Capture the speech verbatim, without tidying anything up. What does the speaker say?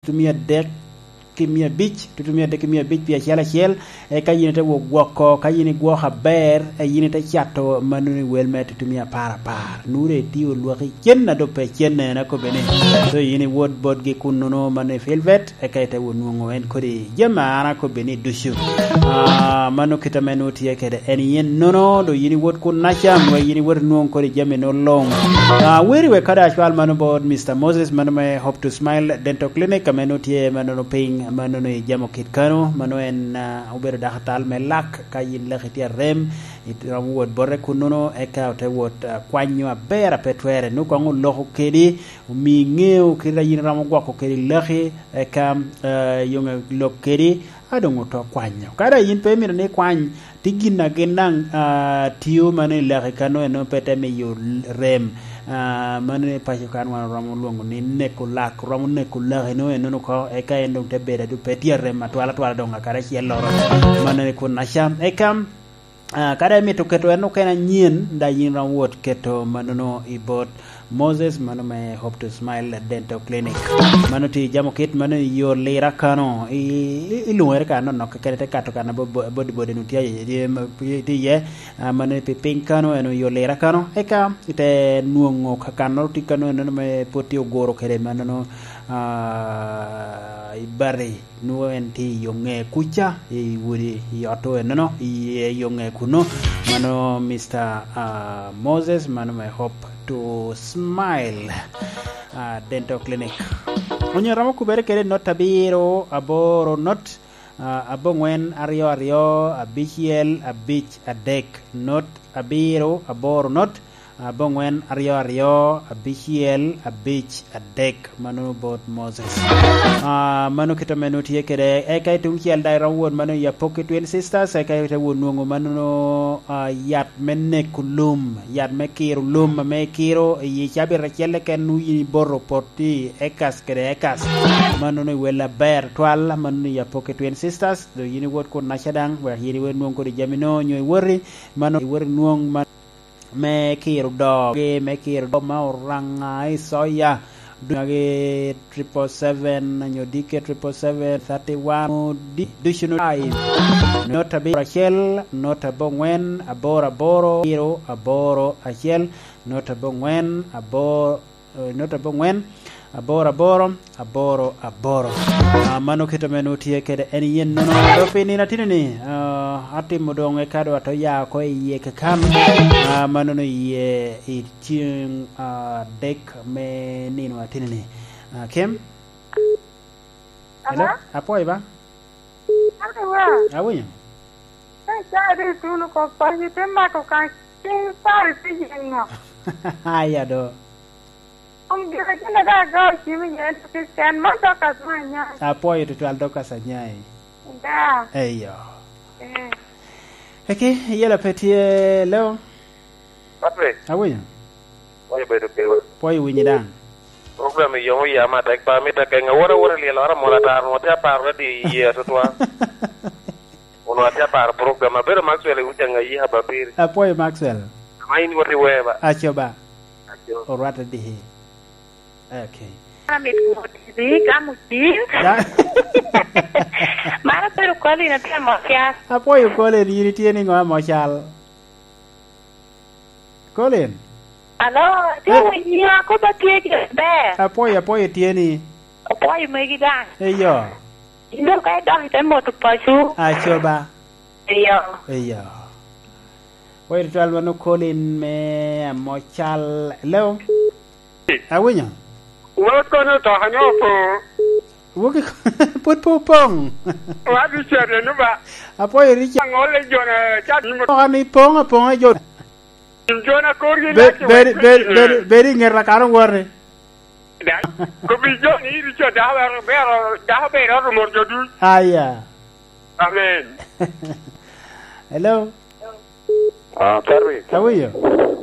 tutumia adek ki mia abic, tutumia adek ki mia abic pi acel acel, eka yin ite wok gwoko, ka yin igwoko aber, e yin ite cato mannono i wel me tutumia apar apar. Nure itio lwaki cen a doŋ pe cenne, en akobbe ni. So yin iwot botgi kunnono, mano i Filbert, eka ite wot nwoŋo en kodi jami a an akobbe ni ducu. Ah, mano kit ame nwoŋo tye kede en yen nono, do yin iwot kun naca, wek yin iwot inwoŋ kodi jami no luŋ. Ah, weri wek kada acwal mano bot Mister Moses, mano me Hope to Smile Dental Clinic, ame nwoŋo tye mano no piny, mano no i Jamo Kit kano, mano en, ah, obedo dako atal me lak, ka yin laki tye arem, iromo wot bote kunnono, eka ote wot, ah, kwanyo aber a pe twere, nwoŋo koŋ oloko kedi, omi iŋeo kite a yin iromo gwoko kede laki, eka, eh, yoŋe lok kedi, a doŋ oto kwanyo. Ka daŋ yin pe imito ni ikwany, ti gin a gin daŋ, ah, tio mano i laki kano eno pe te miyo rem. Ah, mano i paco kan wan oromo lwoŋo ni neko lak, romo neko laki no eno oko, eka en doŋ te bedo a doŋ pe tye rem atwal atwal doŋ akadi acel loro. Mano i kun naca. Eka, Ah, ka daŋ imito keto en okene anyen, daŋ yin iromo wot keto manono i bot Moses, mano me Hope to Smile Dental Clinic. Mano tye i Jamo Kit, mano i yo Lira kano, i, i, i lungere ka nonok keken, ite kato kan abo-, bo-, body body nu tye, tye, tye, tye iye, ah, mano pi piny kano, en i yo Lira kano, eka ite nwoŋo ka kannoro tye kano, enono me pwod tye oguro kede manono, ah, i bati. Nwoŋo en tye i yo ŋe kuca, i wodi, i ot enono, i, i yo ŋe kuno. Mano Mister, ah, Moses, mano me Hope to Smile, ah, Dental Clinic. Onyo romo kubere kede not abiro aboro not, ah, aboŋwen aryo aryo abicel abic adek, not abiro aboro not, aboŋwen aryo aryo abicel abic adek, mano bot Moses. Ah, mano kit ame nwoŋo tye kede, eka i tuŋ cel daŋ iromo wot mano i Apoki Twin Sisters, eka ite wot nwoŋo mano, ah, yat me neko lum, yat me kiro lum ame ikiro i cabit acel keken nwoŋo yin iboto pot i ekas kede ekas. Mano nwoŋo i wel aber twal, mano i Apoki Twin Sisters, do yin iwot kun naca daŋ, wek yin iwot nwoŋ kodi jami no, nyo iwoti, mano iwoti nwoŋ man me kiro doo, gi me kiro doo ma Oraŋa i Soya, dunyagi triple seven, nyo D K triple seven, thirty one, di-, ducu no five. Not abiro acel, not aboŋwen, aboro aboro, zero, aboro acel, not aboŋwen, aboro, eh, not aboŋwen, aboro aboro, aboro aboro. Ah, mano kit ame nwoŋo tye kede en yen nono. Dok pi nino atino ni, ah, atimo doŋ eka doŋ ato ya oko i yie kakan. Ah, mano no iye i ceng, ah, adek me nino atino ni. Ah, Kim? Hello? Hello? Apwoyo ba? Hello, wa. Awinyo? Ka icaa di ituno oko, paco te mako kan, cen pare te yen ŋo? Aya do. Om gire gin a daŋ agao cim iye en to Kricitian, man Dorcas me Anyai. Apwoyo tutwal Dorcas Anyai. Da. Eyo. Eh. Eki, yela pe tye leo? Patrick. Awinyo. Pwoyo bedo kewa. Pwoyo winyi daŋ. Program i yom oyam atek ba, amito akeŋ awot awot i lyel ora mol atar, onwoŋo tye aparo ni di iye atutwa. Onwoŋo atye aparo program. Abedo Maxwell i Ucaŋ, ayi Ababiri. Apwoyo Maxwell. Ama in iwot i Weba. Aco ba. Aco. Orwatte dihi. Okay. Amit mot i gamo cim. Da- Mano bedo Colin atye amo cal. Apwoyo Colin, yin itye ni ŋo amo cal? Colin. Alo, atye winyi, akoba tye gire ber. Apwoyo, apwoyo tye ni. Apwoyo megi daŋ. Eyo. Yin dong ka idok ite moto paco. Aco ba. Eyo. Eyo. Wai tutwal mano Colin me Amocal. Hello? Awinyo? Wot kono to anyo po. Woki put po pong. Wa Richard enu ba. Apwoyo Richard. Angol le jona chat ni mo. Oka ni pong, apong a jo. Jona kor gi Be-, lati bedi, wa bedi, bedi, bedi ŋet lakano wori. Da, ko bi jo ni Richard da bero, bero, da bero mor jo duc. Aya. Amen. Hello? Ah, Terry. How are you?